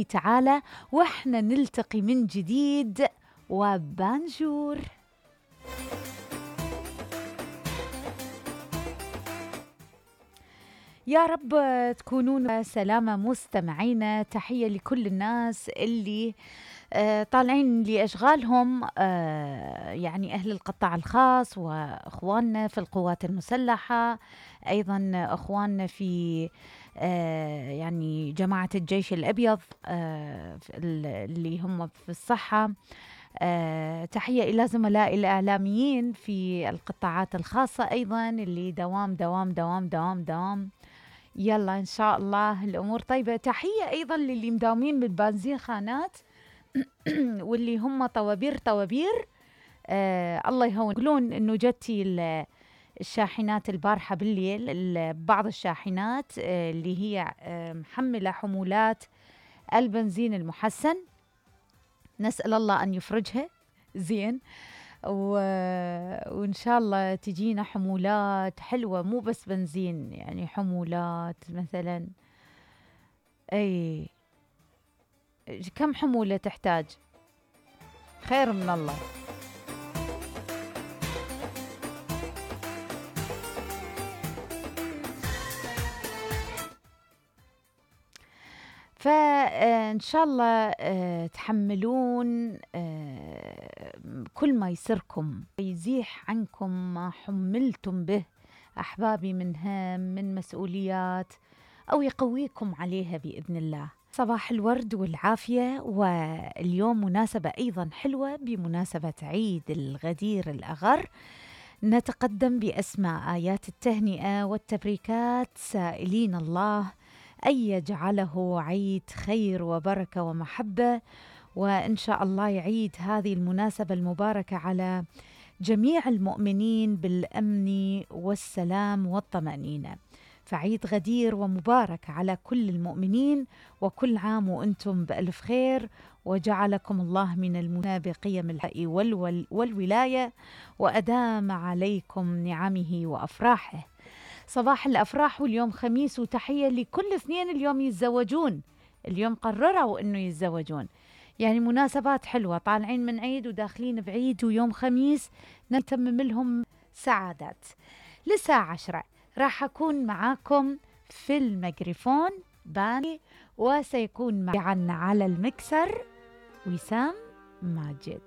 تعالى واحنا نلتقي من جديد وبانجور. يا رب تكونون سلامة مستمعينا. تحية لكل الناس اللي طالعين لأشغالهم، يعني أهل القطاع الخاص وأخواننا في القوات المسلحة، أيضا أخواننا في يعني جماعة الجيش الأبيض اللي هم في الصحة. تحية إلى زملائي الإعلاميين في القطاعات الخاصة أيضا اللي دوام دوام دوام دوام دوام. يلا إن شاء الله الأمور طيبة. تحية أيضا للي مداومين بالبنزين خانات واللي هم طوابير الله يهون. يقولون إنه جتي الشاحنات البارحة بالليل، بعض الشاحنات اللي هي محملة حمولات البنزين المحسن، نسأل الله أن يفرجها زين، وإن شاء الله تجينا حمولات حلوة، مو بس بنزين، يعني حمولات مثلا أي كم حمولة تحتاج؟ خير من الله. فإن شاء الله تحملون كل ما يسركم، يزيح عنكم ما حملتم به أحبابي من هم، من مسؤوليات، أو يقويكم عليها بإذن الله. صباح الورد والعافية. واليوم مناسبة أيضا حلوة بمناسبة عيد الغدير الأغر، نتقدم بأسماء آيات التهنئة والتبريكات سائلين الله أن يجعله عيد خير وبركة ومحبة، وإن شاء الله يعيد هذه المناسبة المباركة على جميع المؤمنين بالأمن والسلام والطمأنينة. فعيد غدير ومبارك على كل المؤمنين، وكل عام وأنتم بألف خير، وجعلكم الله من المنى بقيم الحق والولاية، وأدام عليكم نعمه وأفراحه. صباح الأفراح، واليوم خميس، وتحية لكل اثنين اليوم يتزوجون، اليوم قرروا أنه يتزوجون، يعني مناسبات حلوة، طالعين من عيد وداخلين بعيد ويوم خميس، نتمم لهم سعادات. للساعة 10 راح أكون معاكم في الميكروفون باني، وسيكون معنا على المكسر وسام ماجد.